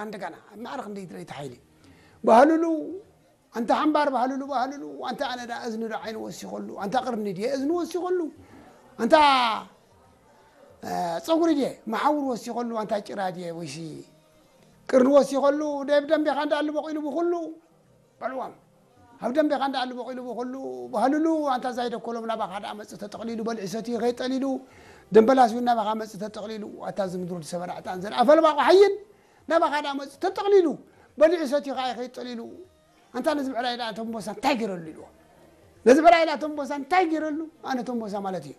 እንደገና ኣብ ማዕረ ክንደይ ድረይቲ ሓይሊ ባህልሉ ኣንታ ሓምባር ባህልሉ ባህልሉ ኣንታ ኣነ ዳ እዝኒ ዶ ዓይኒ ወሲኸሉ ኣንታ ቅርኒ ድየ እዝኒ ወሲኸሉ ኣንታ እ፣ ፀጉሪ ድየ መሓውር ወሲኸሉ ኣንታ ጭራ ድየ ወይሲ ቅርኒ ወሲኸሉ ደብ ደንቤኻ እንዳኣሉ በቂሉ ብኩሉ በልዎም ኣብ ደንቤኻ እንዳኣሉ በቂሉ ብኩሉ ባህልሉ ኣንታ ዛይደኮሎም ናባኻ ዳ መፅእ ተጠቕሊሉ በልዒ ሰትዩ ከይጠሊሉ ደንበላስ እውን ናባኻ መፅእ ተጠቕሊሉ ኣታ ዝምድሩ ዝሰበራ ዕጣን ዘርኣ ፈልባ ቆሓይን ናባኻ ዳ መፅእ ተጠቕሊሉ በልዒ ሰትዩ ከዓ ከይጠሊሉ ኣንታ ነዚ ብዕራይ ዳ ተንቦሳ እንታይ ገይረሉ ኢልዎ ነዚ ብዕራይ ዳ ተንቦሳ እንታይ ገይረሉ ኣነ ተንቦሳ ማለት እዩ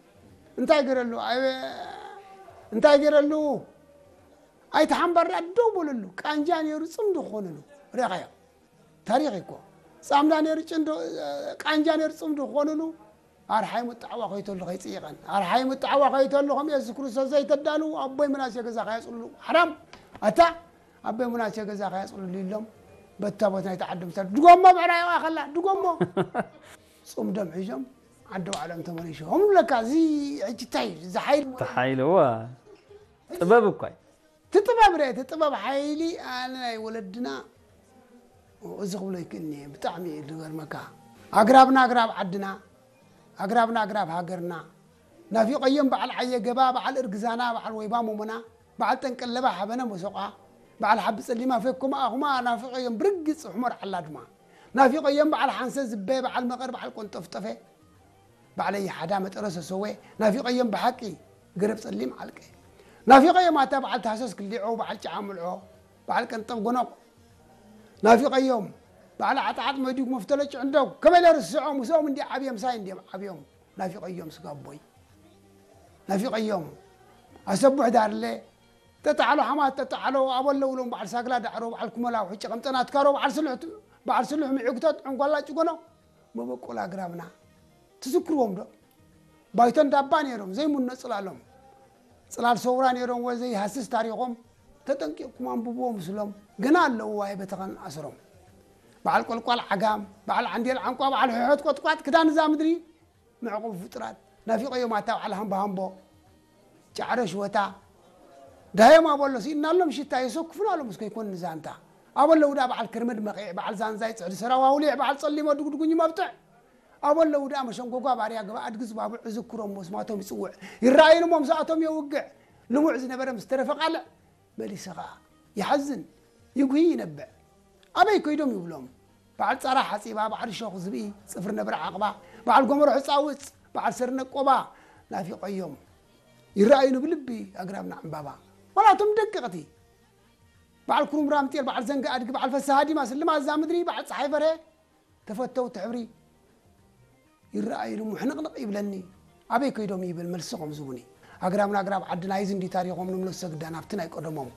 እንታይ ገይረሉ ኣይ እንታይ ገይረሉ ኣይተሓምባር ዳ ደው በለሉ ቃንጃ ነይሩ ፅምዲ ክኾንሉ ሪኣኻዮ ታሪኽ እኮ ፃምዳ ነይሩ ጭንዶ ቃንጃ ነይሩ ፅምዲ ክኾንሉ ኣርሓይ ምጣዕዋ ከይተሉ ከይፅይቐን ኣርሓይ ምጣዕዋ ከይተሉ ከም የሱስ ክርስቶስ ዘይተዳሉ ኣቦይ ምናሴ ገዛ ከያፅልሉ ሓራም ኣታ ኣቦይ ምናሴ ገዛ ከያፅልሉ ኢሎም በታ ቦታ ናይቲ ዓዲ ምሳል ድጎሞ ብዕራይዋ ከላ ድጎሞ ፅምዶም ሒዞም ዓዲ ባዕሎም ተመሊሶም ለካ እዚ ሕጂ እንታይ እዩ? እዚ ሓይሊ ተሓይልዋ ጥበብ እኳ እዩ። ትጥበብ ረ ትጥበብ ሓይሊ ኣነ ናይ ወለድና እዚ ክብሎ ይክእልኒ ብጣዕሚ እዩ ዝገርመካ ኣግራብና ኣግራብ ዓድና ኣግራብና ኣግራብ ሃገርና ናፊቐዮም በዓል ዓየ ገባ በዓል እርግዛና በዓል ወይባ ሞሞና በዓል ጠንቀለባ ሓበነ መሶቋ በዓል ሓቢ ጸሊማ ፌኮማ ኣኹማ ናፊቐዮም ብርግጽ ሕሞር ዓላ ድማ ናፊቐዮም በዓል ሓንሰ ዝበ በዓል መቐር በዓል ቆንጠፍጠፈ ባዕለይ ሓዳ መጠረ ሰሰወ ናፊቐዮም ብሓቂ ገረብ ጸሊም ዓልቀ ናፊቐዮም ኣታ በዓል ታህሰስ ክሊዖ በዓል ጫዓ ምልዖ በዓል ቀንጠብ ጎኖቕ ናፊቐዮም በዓል ዓጣዓጥ መዲግ መፍተለ ጭዕንደው ከመይ ለርስዖ ምስኦም እንዲ ዓብዮም ሳይ እንዲዮም ዓብዮም ናፊቐዮም ስጋቦይ ናፊቐዮም ኣሰቡሕ ዳርለ ተጣዕሎ ሓማት ተጣዕሎ ኣበሎ ውሎም በዓል ሳግላ ዳዕሮ በዓል ኩመላ ውሕጭ ቀምጠና ትካሮ በዓል ስሉሕ በዓል ስሉሕ ምዕግቶት ዕንጓላ ጭጎኖ መበቆል ኣግራብና ትዝክርዎም ዶ ባይቶ እንዳባ ነይሮም ዘይምኖ ፅላሎም ፅላል ሰውራ ነይሮም ወ ዘይሃስስ ታሪኾም ተጠንቂቕኩም ኣንብብዎ ምስሎም ገና ኣለዉ ዋይ በተኸን ኣስሮም በዓል ቆልቋል ዓጋም በዓል ዓንዴል ዓንቋ በዓል ሕሖት ቆጥቋጥ ክዳን እዛ ምድሪ መዕቆቢ ፍጡራት ናፊቐዮም ኣታ በዓል ሃምቦ ሃምቦ ጫዕረ ሽወታ ዳዮም ኣበሎ ስኢንናሎም ሽታ የሰኩፍና ኣሎ ምስ ከይኮን ንዛንታ ኣበሎ ውዳ በዓል ክርምድ መቒዕ በዓል ዛንዛይ ፅዕዲ ሰራው ኣውሊዕ በዓል ፀሊሞ ድጉድጉኝ መብጥዕ ኣበሎ ውዳ መሸንጎጓ ባርያ ገባ ኣድጊ ዝባብዕ እዝክሮም መስማቶም ይፅውዕ ይረኣዩን እሞ ምስኣቶም የውግዕ ልሙዕ ዝነበረ ምስ ተረፈ ቃልዕ መሊሰ ኸዓ ይሓዝን ይጉሂ ይነብዕ ኣበይ ከይዶም ይብሎም በዓል ፃራ ሓፂባ በዓል ሾኽ ዝብኢ ፅፍሪ ነብሪ ዓቕባ በዓል ጎመሮ ሕፃውፅ በዓል ሰርነ ቆባ ናፊቐዮም ይረኣዩኒ ብልቢ ኣግራብና ዕምባባ ዋላ እቶም ደቀቕቲ በዓል ኩሩምራምጤል በዓል ዘንጋ ኣድጊ በዓል ፈሳሃ ዲማ ስልማ እዛ ምድሪ በዓል ፀሓይ በርሀ ተፈተውቲ ሕብሪ ይረኣዩኒ ሙሕንቕንቕ ይብለኒ ኣበይ ከይዶም ይብል መልሲ ከምዝቡኒ ኣግራብና ኣግራብ ዓድና ይዚ እንዲ ታሪኾም ንምለሶ ግዳ ናብቲ ናይ ቀደሞም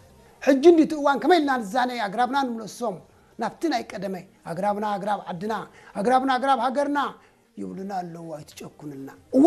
ሕጂ እንዲ እቲ እዋን ከመይ ኢልና ንዛነይ ኣግራብና ንምለሶም ናብቲ ናይ ቀደመይ ኣግራብና ኣግራብ ዓድና ኣግራብና ኣግራብ ሃገርና ይብሉና ኣለዉ ኣይትጨኩንልና እወ